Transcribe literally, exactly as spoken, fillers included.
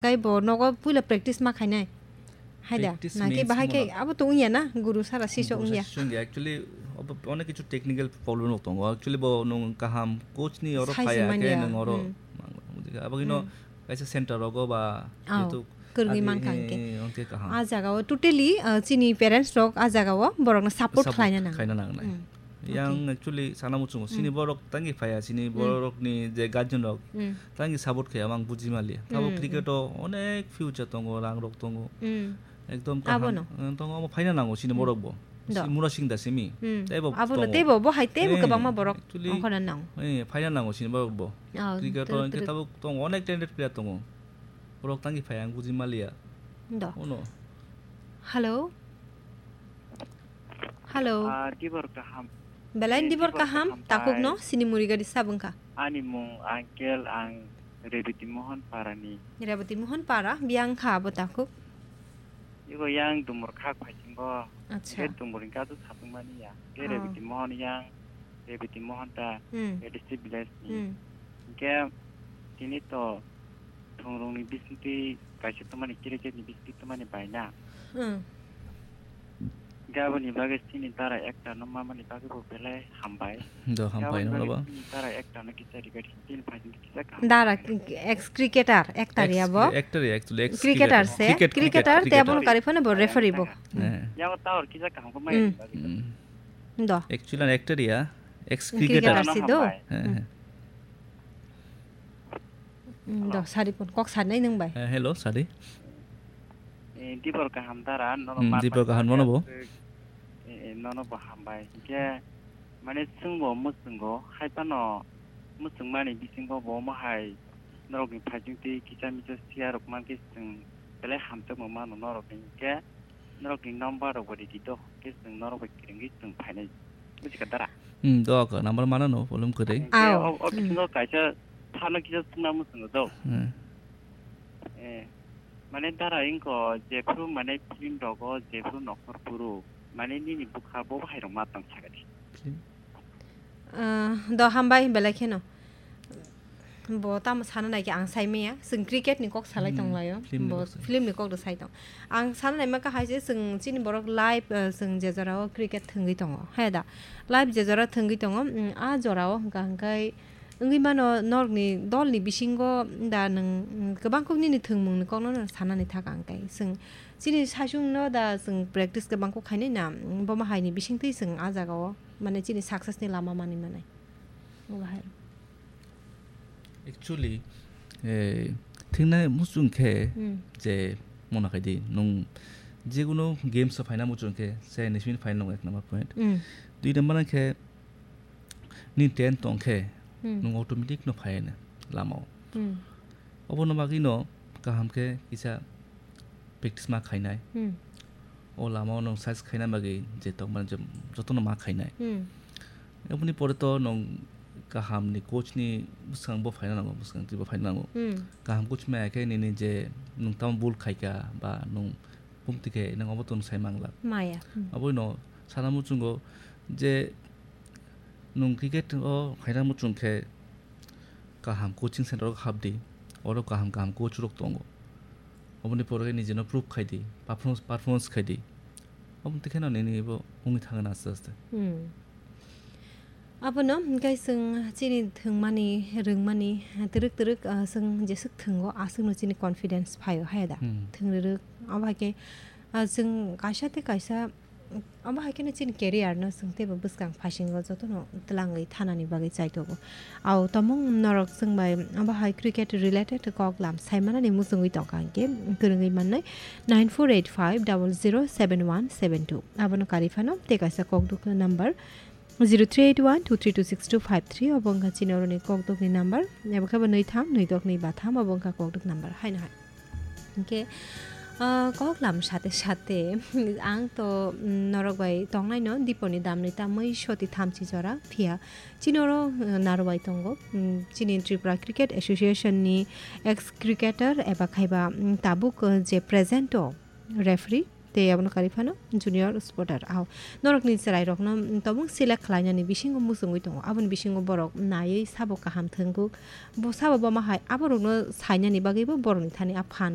Tei bo nogo puila practice ma khainai. Hai da, Practice naki means bahai khe mano. Abo to wngya na, guru sara siso Guru wngya. Sara siso wngya. Actually, obo onek kichu technical problem rok tongo. Actually, bo nwng kaham coach ni oro Sai phaya simani khe ya. Nwng oro Hmm. mang-, mang-, abo kino Hmm. kaisa center rogo ba Oh, jehetu kwrwngwi adi, mankha hwnkhe. He, hwnkhe kaham. A jaga o totally, uh, chini parents rok a jaga o borok no support Support khlaina nang. Khaina nangnai. Hmm. Yang Okay. Actually sana muchungo, sini Hmm. borok tangi phaya, sini Hmm. borok ni je guardian rok Hmm. tangi support khaya, ang buji mali. Tabo Hmm, cricket hmm. O onek future tongo, rang rok tongo. Hmm. Ekdom Abo kaham, no. Eh, tongo, omo phaina nango sini Hmm. Borok bo. Do. Si mura sing da simi. Hmm. Tei bo Abo no tongo. Tei bo, bo hai tei bo Eh, kwbangma borok actually, ongkhorna nango. Eh, phaina nango sini borok bo. Oh, Cricket true, o hwnkhe true. Tabuk tongo, onek talented player tongo. Borok tangi phaya, ang buji maliya. Do. Ono. Hello. Hello. Ah, dibor kaham. Belai Eh, dibor dibor kaham, kaham takhuk no, pai. Sini muri gari sab wngkha. Ani mung Uncle, ang Rebiti Mohan Parani. Rebiti Mohan Para, biyang kha abo takhuk. Ibo yang dumur khak phaisingo. Acha. Ke dumur ni kadu sapung mani ya. Ke Oh. Rebiti Mohan yang, Rebiti Mohan ta, Hmm. A D C village ni. Hmm. Ke tini to thungrung ni bisingtwi kaisa tumani, cricket ni bisingtwi tumani baina. Hmm. Gaboni bagwi chini dara ekta no mamani bagwi bo belai hambai. Do hambai Gaboni no bagwi ba. Chini dara ekta no kisa regard hin tin phai kisa kaham. Dara ex cricketer, actor ya Ex-, bo? Actor ya, actually, ex Cricketer cricketer. Se, Cricket, cricketer, cricket, te abono cricket. Kari phano bo referee bo. Hmm. Eh. Yang tower kisa kaham ko mai Hmm. Bagwi. Hmm. Do. Actually, an actor ya, ex Cricketer cricketer. Si do. Hambai. Eh, Hmm. eh. Mm, do, Hello. Sari phone. Kok sanai nung bai. Eh, hello, Sari. Eh, dibor kaham dara, nono Hmm, ma dibor kaham, nono bo. Eh, eh, nono bo hambai. Hingke, mane, chwngbo muchungo, hai phano muchungmani bisingo bo omo hai norokni phaichingtwi kisa misa siya rok mankhe chwng belai hamjakma mano norokni. Hingke, norokni number rok bo ridi do, hingke chwng norok bai kwrwngwi chwng phainai. Buji kha dara? Hmm, do kha, number mana no, problem kwrwi. Hingke Ao. O, o Hmm. Bisingo kaisa phano kisa chwngna muchungo do. Hmm. Eh, mane dara ingko jephru mane film rogo jephru nokhor phuru mane nini bwkha bo hai rok ma tong sakadi. Film? Ah, do hambai belai kheno. Bo tamo sana nai khe ang sai maya. Chwng cricket ni kok salai Hmm, tong laio. Film ni Bo kok salai. Film ni kok do sai tong. Ang sana nai ma kha hai se chwng chini borok live, ah, chwng je jora o cricket thwngwi tongo. Hai da. Live je jora thwngwi tongo. Mm, a jora o hwnkha hwnkhe wngwi mano norokni dolni bisingo da nwng, mm, kwbang kok nini thwngmungni kokno no sanani thaka hwnkhe. Chwng chini saichungno da chwng practice kwbang kok khainai na, mm, bomo haini bisingtwi chwng a jagao mane chini success ni lama manwi manai. Obo hai. Actually, eh, thwngna muchung khe Hmm. Je mona khai di, nwng jekunu games o phaina muchung khe, se nishini phaina nung ek number point. Hmm. Dui number khe, Nini talent tong khe, Hmm. Nwng automatic no phai hwnwi lama o. Hmm. Obono bagwi no kaham khe kisa practice ma khainai. Hmm. O lama o nwng size khaina bagwi je tongmani je jotono ma khainai. Hmm. Oboni pore to nwng kaham ni coach ni bwskango bo phaina nango, bwskango twibo phaina nango. Hmm. Kaham coach maya khe nini je nwng tamo bul khaika ba nwng bumti khe nwng obo to nwng sai mangla. Maya. Hmm. Obono sana muchungo je Nwng cricket o khaina muchung khe kaham coaching center o hap di, oro kaham kaham coach rok tongo. Oboni pore khe nijino prove khai di, performance, performance khai di. Omo twi kheno nini bo wngwi thangna aste aste. Hmm. Abono hwnkhe chwng chini thwngmani, rwngmani, twrwk twrwk, ah, chwng jeswk thwngo, aswkno chini confidence phaio, hai da? Hmm. Thwng rwrwk, abo hai khe, ah, chwng kaisa tei kaisa Omo hai kheno chini career no chwng teibo bwskang phasingo jotono twlangwi thanani bagwi chaitogo. Au tomung norok chwng bai omo hai cricket related kok lam saimanani muchungwi tongkha hinkhe kwrwngwi mannai nine four eight five double zero seven one seven two. Abono karwi phano tei kaisa kokduk number zero three eight one two three two six two five three, obo wngkha chini oroni kokdukni number, abo khe bo nwi tham nwi dok nwi ba tham, obo wngkha kokduk number haino hai. Hinkhe, ah, kok lam sate sate ang to, mm, norok bai tongnaino diponi damni tamwi soti thamchi jora phiya chini oro, uh, naro bai tongo, mm, chini Tripura Cricket Association ni ex cricketer eba khaiba, mm, tabuk, uh, je present o referee tei abono karwi phano junior sporter. Ao norokni chwrairokno, mm, tabuk select khlainani bisingo muchungwi tongo, aboni bisingo borok naiwi sabo kaham thwngkuk, bo sabo boma hai aborokno sainani bagwibo borokni thani a phan.